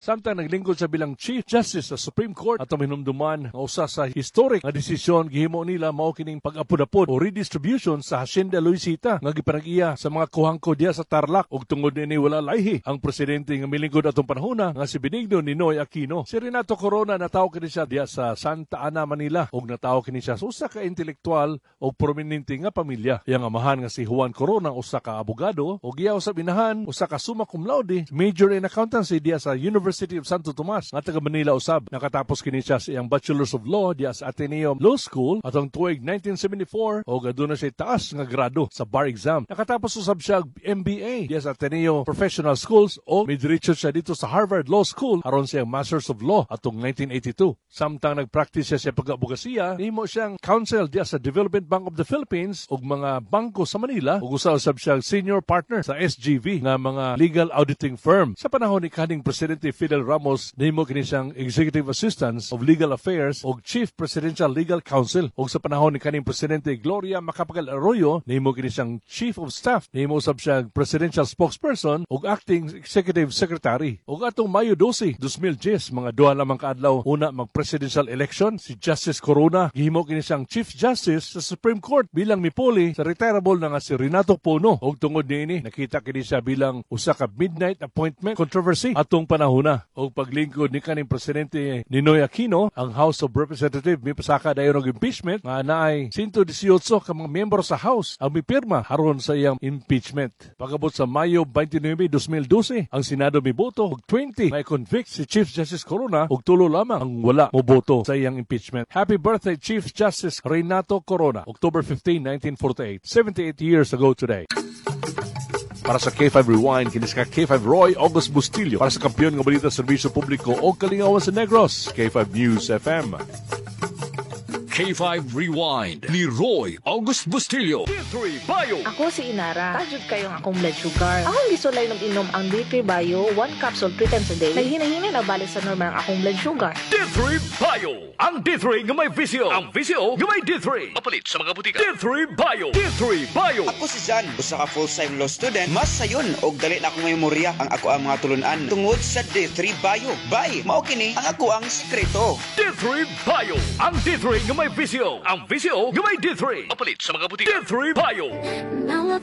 Samtang naglingkod siya bilang Chief Justice sa Supreme Court, atong hinumduman nga usa sa historic nga desisyon gihimo nila mao kining pag-apod-apod o redistribution sa Hacienda Luisita nga gipanag-iya sa mga Cojuangco diya sa Tarlac, ug tungod niini wala layhi ang presidente nga milingkod atong panahona nga si Benigno Ninoy Aquino. Si Renato Corona, natawo kini siya diya sa Santa Ana, Manila, ug natawo kini siya sa usa ka intelektual ug prominente nga pamilya. Iyang amahan nga si Juan Corona usa ka abogado ug iya usab inahan usa ka summa cum laude, major in accountancy diya sa University of Santo Tomas nga taga Manila usab. Nakatapos kini siya sa iyang Bachelor's of Law diya sa Ateneo Law School atong tuig 1974 ug aduna siya taas nga grado sa bar exam. Nakatapos usab siya og MBA diya sa Ateneo Professional Schools o midiretso siya dito sa Harvard Law School aron siyang Masters of Law atong 1982. Samtang nagpractice siya sa pag-abogasiya, nihimo siyang counsel diya sa Development Bank of the Philippines ug mga bangko sa Manila, ug usa usab siya senior partner sa SGV nga mga legal auditing firm. Sa panahon ni kaning Presidente Fidel Ramos, nihimo kini siyang Executive Assistant of Legal Affairs ug Chief Presidential Legal Counsel. Ug sa panahon ni kaning Presidente Gloria Macapagal Arroyo, nihimo kini siyang Chief of Staff. Nihimo usab siyang Presidential Spokesperson ug Acting Executive Secretary. Ug atong Mayo 12, 2010, mga duha lamang kaadlaw una mag-presidential election, si Justice Corona gihimo kini siyang Chief Justice sa Supreme Court bilang mipuli sa retirable na nga si Renato Pono. Ug tungod niini, nakita kini siya bilang usa ka midnight appointment controversy atong panahona. Og paglingkod ni kaning Presidente Ninoy Aquino, ang House of Representatives mipasaka dayon og impeachment nga naay 118 ka mga miyembro sa House ang mipirma aron sa iyang impeachment. Pagabot sa Mayo 29, 2012, ang Senado miboto og 20 may convict si Chief Justice Corona ug 3 lamang ang wala moboto sa iyang impeachment. Happy birthday, Chief Justice Renato Corona, October 15, 1948, 78 years ago today. Para sa K5 Rewind, kini sa K5 Roy August Bustillo. Para sa kampiyon nga balita, serbisyo publiko o kalingawan sa Negros, K5 News FM. K5 Rewind ni Roy August Bustillo. D3 Bio. Ako si Inara. Taas jud kaayo ang akong blood sugar. Akong gisulay inom ang D3 Bio, one capsule three times a day. Naghinay-hinay na balik sa normal ang akong blood sugar. D3 Bio. Ang D3 nga may VCO. Ang VCO nga may D3. Mapalit sa mga butika. D3 Bio. D3 Bio. Ako si Jan, usa ka full-time law student. Mas sayon og dali na akong memorya ang ako ang mga tulunan tungod sa D3 Bio. Bay, mao kini ang ako ang sikreto. D3 Bio. Ang D3 nga may VCO. Ang VCO nga may D3. Mapalit sa mga butika. D3 Bio.